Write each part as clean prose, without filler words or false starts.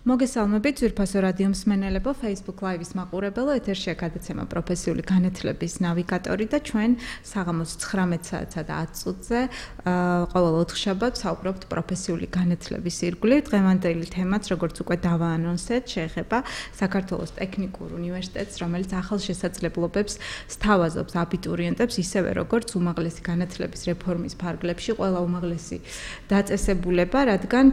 მოგესალმებით ძვირფასო რადიო მსმენელებო, Facebook Live-ის მაყურებელო, ეთერშია გადაცემა პროფესიული განათლების ნავიგატორი და ჩვენ საღამოს 19 საათსა და 10 წუთზე ყოველ ოთხშაბათს საუბრობთ პროფესიული განათლების ირგვლივ. დღევანდელი თემაც, როგორც უკვე დავაანონსეთ, შეეხება საქართველოს ტექნიკურ უნივერსიტეტს, რომელიც ახალშესაძლებლობებს სთავაზობს აბიტურიენტებს, ისევე როგორც უმაღლესი განათლების რეფორმის ფარგლებში ყველა უმაღლესი დაწესებულება, რადგან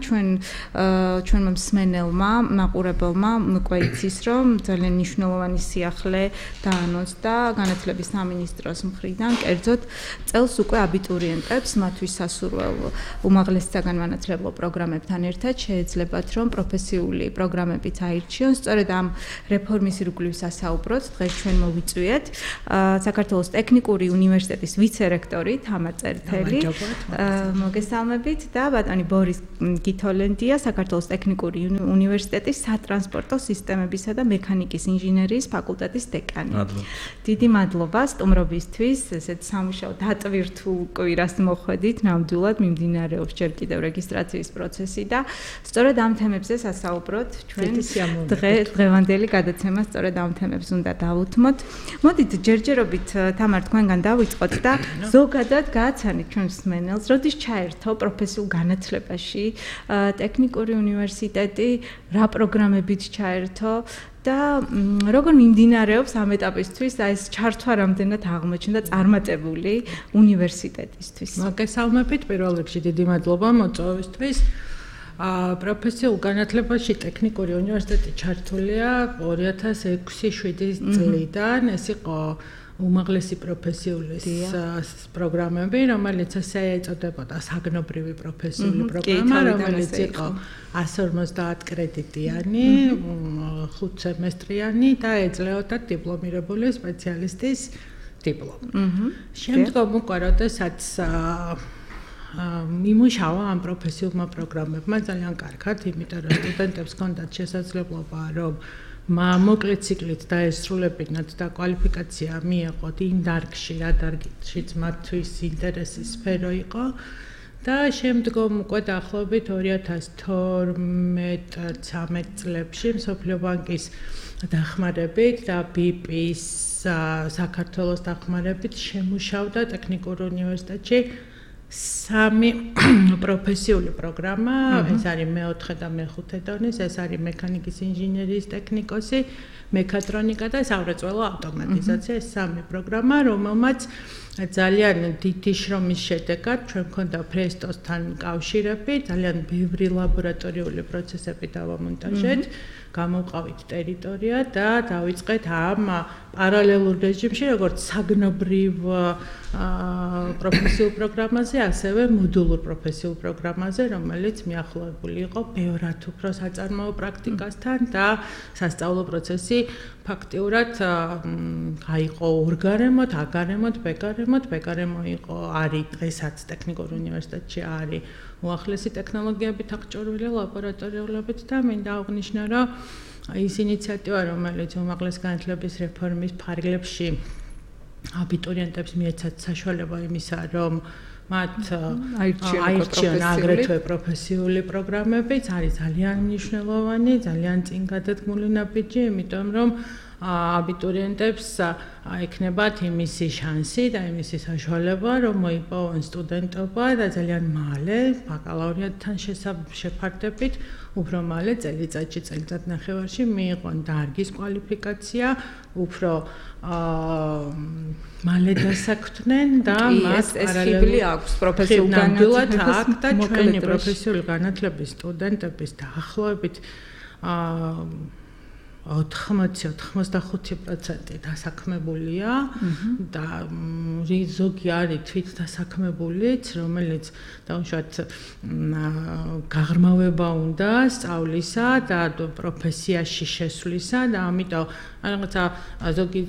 ჩვენმა მსმენელმა მაყურებელმა უკვე იცის, რომ ძალიან მნიშვნელოვანი სიახლე დაანონსდა განათლების სამინისტროს მხრიდან, კერძოდ წელს უკვე აბიტურიენტებს მათთვის სასურველ უმაღლეს საგანმანათლებლო პროგრამებთან ერთად შეეძლებათ, რომ პროფესიული პროგრამებიც აირჩიონ. სწორედ ამ რეფორმის ირგვლივ სასაუბროთ დღეს ჩვენ მოვიწვიეთ საქართველოს ტექნიკური უნივერსიტეტის ვიცე-რექტორი თამარ წერტელი. მოგესალმებით და ბატონი ბორის გითოლენდია, საქართველოს ტექნიკური უნივერსიტეტის სატრანსპორტო სისტემებისა და მექანიკის ინჟინერიის ფაკულტეტის დეკანი. დიდი მადლობა სტუმრობისთვის, ესეთ სამუშაო დატვირთულ კვირას მოხვედით, ნამდვილად მიმდინარეობს ჯერ კიდევ რეგისტრაციის პროცესი და სწორედ ამ თემებზე სასაუბროთ ჩვენ დღევანდელი გადაცემა სწორედ ამ თემებს უნდა დავუთმოთ. მოდით ჯერჯერობით თამარ თქვენგან დავიწყოთ და ზოგადად გააცანით ჩვენს მსმენელს, როდის ჩაერთო პროფესიულ განათლებაში ტექნიკური უნივერსიტეტი, რა პროგრამებით ჩაერთო და როგორ მიმდინარეობს ამ ეტაპისთვის ეს ჩართვა რამდენად აღმოჩნდა წარმატებული უნივერსიტეტისთვის. მოგესალმებით, პირველ რიგში დიდი მადლობა მოწვევისთვის. პროფესიულ განათლებაში ტექნიკური უნივერსიტეტი ჩართულია 2006-2007 წლიდან. ეს იყო უმაღლესი პროფესიული პროგრამები, რომელიც ასე ეწოდებოდა საგნობრივი პროფესიული პროგრამა, რომელიც იყო 150 კრედიტიანი, 5 სემესტრიანი და ეძლეოდა დიპლომირებული სპეციალისტის დიპლომი. შემდგომ უკვე როდესაც მიმუშავა ამ პროფესიულმა პროგრამებმა ძალიან კარგად, იმიტომ რომ სტუდენტებს ჰქონდათ შესაძლებლობა, რომ მოკლე ციკლით დაესრულებინათ და კვალიფიკაცია მიეღოთ იმ დარგში, რა დარგშიც მათთვის ინტერესის სფერო იყო. და შემდგომ უკვე დაახლოებით 2012-13 წლებში მსოფლიო ბანკის დახმარებით და BIP-ის საქართველოს დახმარებით შემუშავდა ტექნიკურ უნივერსიტეტში 3 პროფესიული პროგრამა, ეს არის მე-4 და მე-5 დონის, ეს არის მექანიკის ინჟინერიის ტექნიკოსი, მექატრონიკა და სამრეწველო ავტომატიზაცია, ეს 3 პროგრამა, რომელმაც ძალიან დიდი შრომის შედეგად ჩვენ მქონდა ფრესტოსთან კავშირები, ძალიან ბევრი ლაბორატორიული პროცესები დავამონტაჟეთ, გამოვყავით ტერიტორია და დავიწყეთ ამ პარალელურ რეჟიმში, როგორც საგნობრივ პროფესიულ პროგრამაზე, ასევე მოდულურ პროფესიულ პროგრამაზე, რომელიც მიახლოებული იყო ბევრად უფრო საწარმოო პრაქტიკასთან და სასწავლო პროცესი ფაქტიურად აიყო ორგარემოთ, აგარემოთ, ბეგარემოთ. ბეგარემო იყო, არის დღესაც ტექნიკურ უნივერსიტეტში არის უახლესი ტექნოლოგიებით აღჭურვილი ლაბორატორიულობით და მინდა აღნიშნო, რომ ის ინიციატივა, რომელიც უმაღლეს განათლების რეფორმის ფარგლებში აბიტურიენტებს მიეცათ საშუალება იმისა, რომ მათ აირჩიონ აგრეთვე პროფესიული პროგრამებიც, არის ძალიან მნიშვნელოვანი, ძალიან წინ გადადგმული ნაბიჯი, იმიტომ რომ აბიტურიენტებს ექნებათ იმისი შანსი და იმისი საშუალება, რომ მოიპოვონ სტუდენტობა და ძალიან მალე ბაკალავრიატთან შეფარდებით, უფრო მალე წელიწადში, წელიწადნახევარში მიიღონ დარგის კვალიფიკაცია, უფრო მალე დასაქმდნენ და მას პარალელურად აქვს პროფესიული განათლება და ჩვენი პროფესიული განათლების სტუდენტების დაახლოებით 80-85% დასაქმებულია და ზოგი არის თვით დასაქმებულიც, რომელიც დაუშვათ გაღრმავება უნდა სწავლისა და პროფესიაში შესვლისა და ამიტომ რაღაცა ზოგი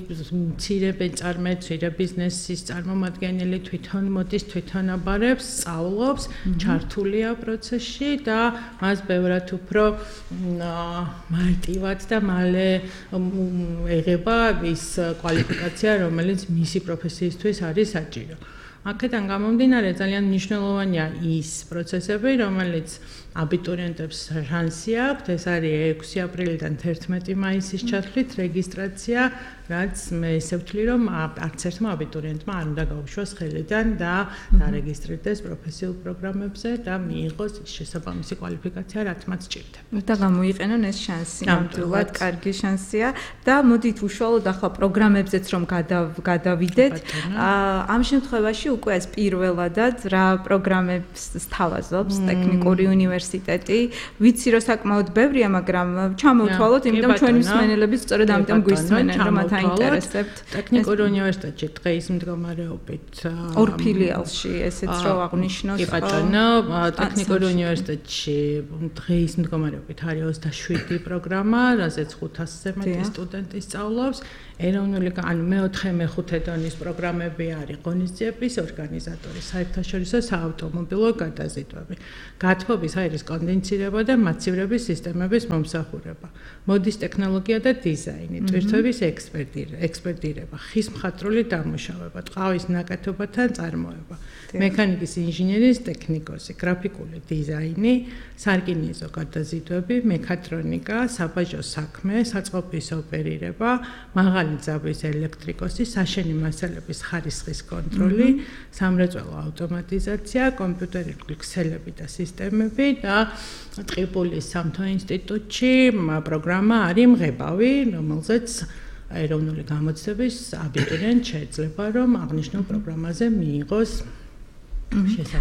მცირე მწარმე ბიზნესის წარმომადგენელი თვითონ მოდის, თვითონ აბარებს, სწავლობს, ჩართულია პროცესში და მას ბევრად უფრო მარტივად და მალე ეღება ის კვალიფიკაცია, რომელიც მისი პროფესიისთვის არის საჭირო. აქედან გამომდინარე ძალიან მნიშვნელოვანია ის პროცესები, რომელიც აბიტურიენტებს შანსი აქვთ, ეს არის 6 აპრილიდან 11 მაისის ჩათვლით რეგისტრაცია, რაც მე ისე ვთვლი, რომ არც ერთმა აბიტურიენტმა არ უნდა გაუშვას ხელიდან და დარეგისტრირდეს პროფესიულ პროგრამებზე და მიიღოს შესაბამისი კვალიფიკაცია, რაც მათ სჭირდება. და გამოიყენონ ეს შანსი, ნამდვილად კარგი შანსია და მოდით უშუალოდ ახლა პროგრამებზეც რომ გადავიდეთ. ამ შემთხვევაში უკვე ეს პირველადად რა პროგრამებს სთავაზობს ტექნიკური უნივერსიტეტი. ვიცი რომ საკმაოდ ბევრია, მაგრამ ჩამოვთვალოთ, იმიტომ ჩვენი მსმენელები სწორედ ამიტომ გვისმენენ, რომ მათ აინტერესებთ. ტექნიკურ უნივერსიტეტში დღეის მდგომარეობით ორ ფილიალში ესეც რო აღნიშნოს. კი ბატონო, ტექნიკურ უნივერსიტეტში დღეის მდგომარეობით არის 27 პროგრამა, რაზეც 500-ზე მეტი სტუდენტი სწავლობს. ეროვნული ანუ მე-4-მე-5 დონის პროგრამები არის ღონისძიების ორგანიზატორი, საერთაშორისო საავტომობილო გადაზიდვები, გათბობის აირის კონდენსირება და მაცივრების სისტემების მომსახურება, მოდის ტექნოლოგია და დიზაინი, ტვირთების ექსპერტირება, ხის მხატვრული დამუშავება, ტყავის ნაკეთობათა წარმოება, მექანიკის ინჟინერიის ტექნიკოსი, გრაფიკული დიზაინი, სარკინიზო გადაზიდვები, მექატრონიკა, საბაჟო საქმე, საწყობის ოპერირება, მაღალი ძაბვის ელექტრიკოსი, საშენი მასალების ხარისხის კონტროლი, სამრეწველო ავტომატიზაცია, კომპიუტერული ქსელები და სისტემები და ტყიბულის სამთო ინსტიტუტში პროგრამა არის მღებავი, რომელზეც ეროვნული გამოცდების აბიტურიენტ შეიძლება რომ აღნიშნულ პროგრამაზე მიიღოს შესაძლებლობა.